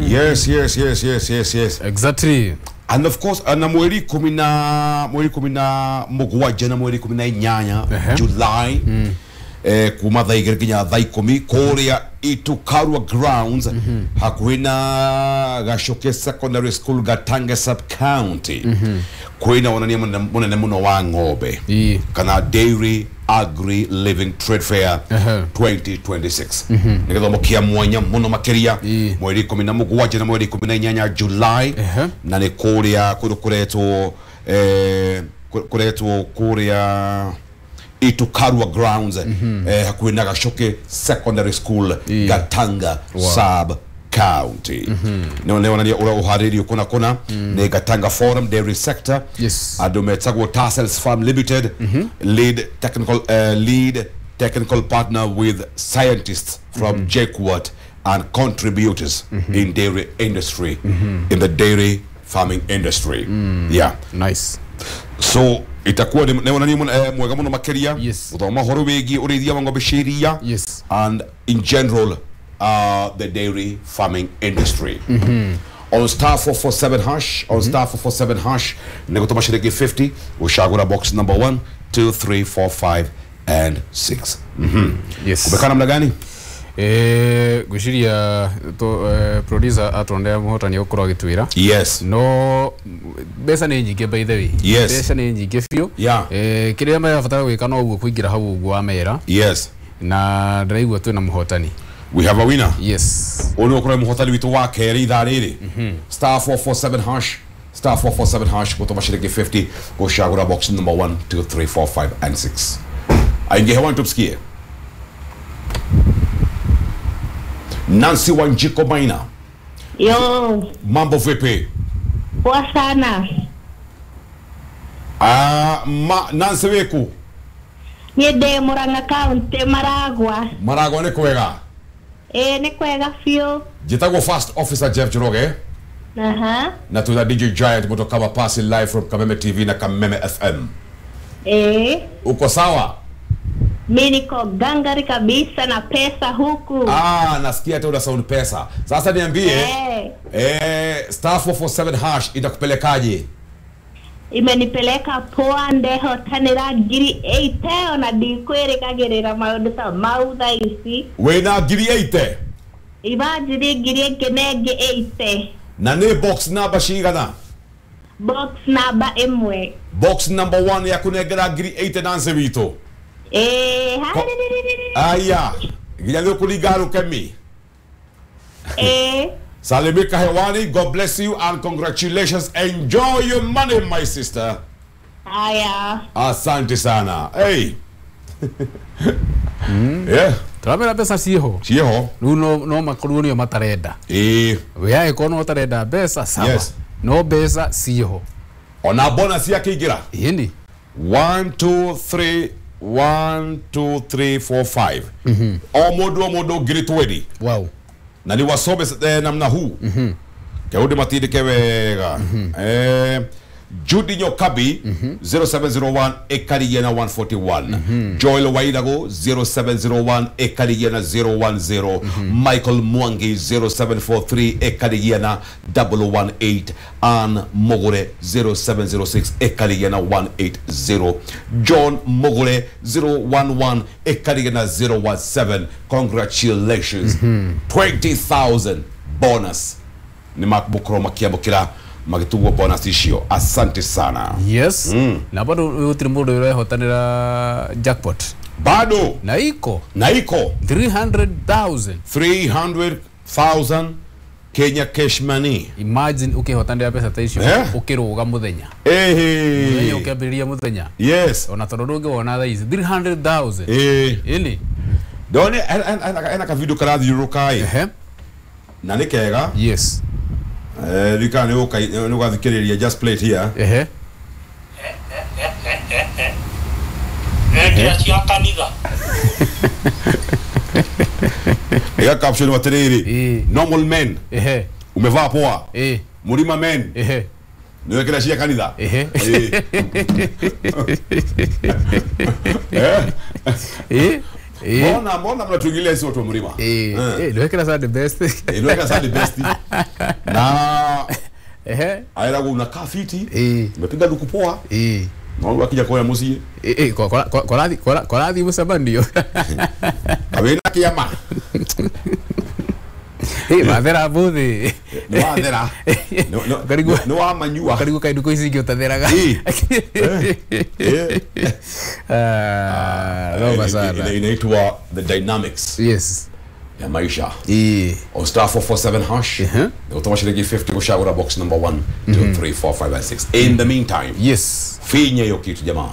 Yes, yes, yes, yes, yes, yes. Exactly. And of course na mweri 17 na mweri 18 July, kuma thaa 2 nginya thaa 10 kũrĩa Itukarua grounds, hakuhĩ na Gacoke Secondary School, Gatanga sub county, kwĩna wonania mũnene mũno wa ng'ombe kana Dairy Agri Living Trade Fair 2026. Nĩ gĩthomo kĩa mwanya mũno makĩria, mweri 17 na mweri 18 July, na nĩ kũrĩa kũndũ kũretwo kũretwo kũrĩa Itukarua grounds, hakuhĩ na Gacoke Secondary School, Gatanga sub county. Nĩ wonania ũrĩa ũharĩirio kũna kũna nĩ Gatanga Forum Dairy Sector. Andũ metagwo Tassels Farm Limited, lead technical partner with scientists from JKUAT and contributors in dairy industry, in the dairy farming industry. Yeah. Nice. So itakuwa nĩ wonania mwega mũno makĩria, gũthoma ũhoro wĩgiĩ ũrĩithia wa ng'ombe cia iria and in general the dairy farming industry. On star 447 hash, on star 447 hash, nĩ gũtũma ciringi 50 gũcagũra box number 1, 2, 3, 4, 5 and 6. Yes. Kumekaa namna gani? Ngwĩciria producer atondea mũhotani ũkorwo agĩtwĩra. No mbeca nĩ nyingĩ, by the way. Mbeca nĩ nyingĩ biũ. Kĩrĩa marabatara gwĩka no ũguo kũingĩra hau ũguo wa mera. Na ndĩraigua twĩna mũhotani. We have a winner. Yes. Ũyũ nĩ ũkorwo mũhotani witũ wa kerĩ ithaa rĩrĩ. Star 447 hash, star 447 hash, gũtũma ciringi 50 gũcagũra box number 1, 2, 3, 4, 5 and 6. Aingie hewani tumsikie. Nancy Wanjiko Maina. Yo. Mambo vipi? Poa sana. Ah, ma Nancy weku? Niĩ ndĩ Murang'a County, Maragwa. Maragwa nĩ kwega? Ĩĩ, nĩ kwega biũ. Njĩtagwo First Officer Jeff Njoroge na tuna DJ Giant Moto Pasi live from Kameme TV na Kameme FM. Uko sawa? Mi niko gangari kabisa na pesa huku. Ah, nasikia hata una sound pesa. Sasa niambie, star 447 hash itakupelekaje? Imenipeleka poa, ndehotanĩra ngiri 80, ona ndikwĩrĩgagĩrĩra maũndũ ta mau thaa ici. Wĩna ngiri 80? Imagine, ngiri ĩngĩ na ĩngĩ 80. Na nĩ box number cigana? Box namba 1. Box number 1 ya kunengera ngiri 80, Nancy witũ. Ĩĩ. Aya, nginya nĩ ũkũringa rũkemi. Ĩĩ. Salimika hewani, God bless you and congratulations. Enjoy your money, my sister. Haya. Asante sana. Hey. Yeah. Tũramera mbeca ciĩho. Ciĩho. Rĩu no makorwo nĩo matarenda. We angĩkorwo no ũtarenda mbeca, sawa. No mbeca ciĩho. Ona bonus yakĩingĩra. Ĩni. 1, 2, 3, 1, 2, 3, 4, 5. O mũndũ o mũndũ ngiri 20. Na ni wasome namna huu. Keudi matindike wega. Judy Nyokabi 0701 ekarigia na 141. Joel Wairago 0701 ekarigia na 010. Michael Mwangi 0743 ekarigia na 118. Ann Mogore 0706 ekarigia na 180. John Mogore 011 ekarigia na 017. Congratulations. 20,000 bonus. Ni makũkorwo makiamũkĩra magĩtugwo bonus icio. Asante sana. Yes. Na bado gũtirĩ mũndũ ũrehotanĩra jackpot. Bado. Na iko. Na iko. 300,000. 300,000 Kenya cash money. Imagine ũkĩhotanĩra mbeca ta icio ũkĩrũga mũthenya. Mũthenya ũkĩambĩrĩria mũthenya. Ona tondũ ndũngĩwona thaa ici 300,000. Ĩni. Ndone ena ka video karathiũrũrũka ĩ. Na nĩ kega. Rika nĩ ũgathikĩrĩria, just play it here. Rekĩra cia kanitha. Ega caption atĩrĩrĩ, normal men. Umevaa poa. Murima men. Nĩ wekĩra cia kanitha. Mbona mnatuingilia sisi watu wa mlima? Ndwekera Sunday best. Ndwekera Sunday best. Na ehe aira unakaa fiti. Umepiga luku poa. Na wewe akija kwa musie. Korathi mucemanio. Awena kiama. Mathera buthi. Ni wathera. Ni wa manyua. Karigwo kaindu ici ingĩ ũtatheraga. Noma sana. Inaitwa the dynamics. Yes. Ya maisha. On star 447 hash. Utoma shilingi 50 kushagura box number 1 2 3 4 5 and 6. In the meantime. Yes. Finya hiyo kitu jamaa.